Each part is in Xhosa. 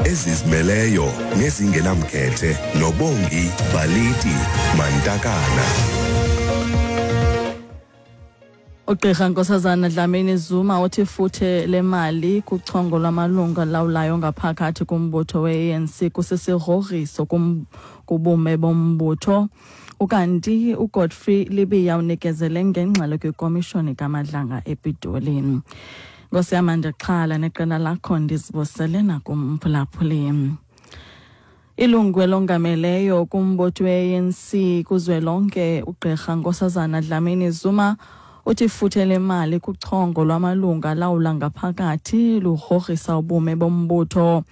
Ezizimeleyo nezingenamkhethe noBongi Baliti Mantakana. Ugqirha Nkosazana Dlamini Zuma uthi ifuthe lemali kuchongo lwamalungu alawulayo ngaphakathi kumbutho we-ANC kusisigrogriso kubume bombutho. Ukanti uGodfrey Libiya unikezele ngengxelo kwikomishoni kaMadlanga ePitoli. Nkosi yam, andixhala neqela lakho, ndizibusele nakumphulaphuli. Ilungu elongameleyo kumbutho we-ANC kuzwelonke, ugqirha Nkosazana Dlamini Zuma, uthi ifuthe lemali kuchongo lwamalungu alawula ngaphakathi lugrogrisa ubume bombutho.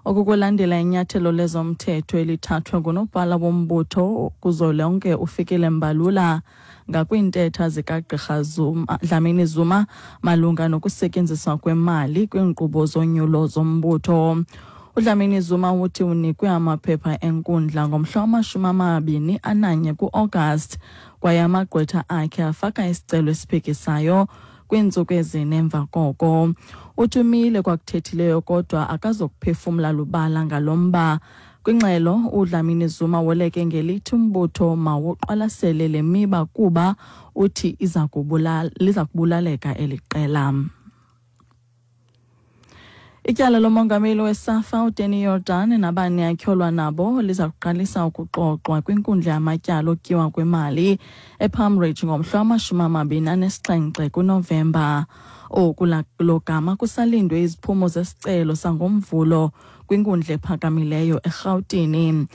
Oku kulandela inyathelo lezomthetho elithathwe ngunobhala wombutho kuzwelonke, uFikile Mbalula, ngakwiintetha zikagqirha Zuma, Dlamini Zuma, malunga nokusetyenziswa kwemali kwiinkqubo zonyulo zombutho. UDlamini Zuma uthi unikwe amaphepha enkundla ngomhla wama-21 kuAugust, kwaye amagqwetha akhe afaka isicelo esiphikisayo kwiintsuku 4 emva koko. Uthi umile kwakuthethileyo kodwa akazokuphefumla lubala ngalo mba. Kwingxelo, uDlamini Zuma woleke ngelithi umbutho mawuqwalasele le miba kuba uthi liza kubulaleka eli qela. Ityala lomongameli weSAFA uDanny Jordaan nabane atyholwa nabo liza kuqalisa ukuxoxwa kwinkundla yamatyala okutyiwa kwemali ePalm Ridge ngomhla wama-27 kuNovemba. Oku lo gama kusalindwe iziphumo zesicelo sangoMvulo kwinkundla ephakamileyo eRhawutini.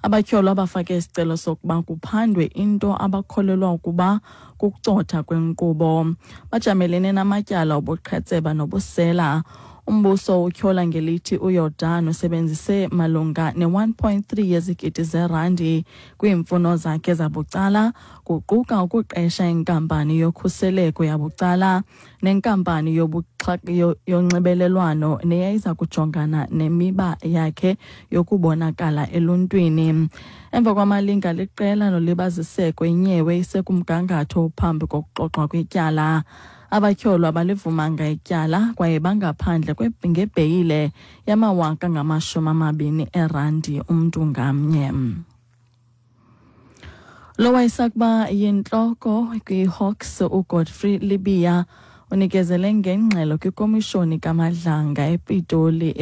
Abatyholwa bafake isicelo sokuba kuphandwe into abakholelwa ukuba kukucotha kwenkqubo. Bajamelene namatyala obuqhetseba nobusela. Umbuso utyhola ngelithi uJordaan usebenzise malunga ne-1.3 yezigidi zerandi kwiimfuno zakhe zabucala, kuquka ukuqesha inkampani yokhuseleko yabucala nenkampani yonxibelelwano neyayiza kujongana nemiba yakhe yokubonakala eluntwini. Emva kwamalinga liqela nolibaziseko, inyewe isekumgangatho phambi kokuxoxwa kwetyala. Abatyholwa balivumanga ityala kwaye bangaphandle ngebheyile yama20 000 erandi umntu ngamnye. Lo wayesakuba yintloko kwiHawks, uGodfrey Libiya, unikezele ngengxelo kwikomishoni kaMadlanga ePitoli.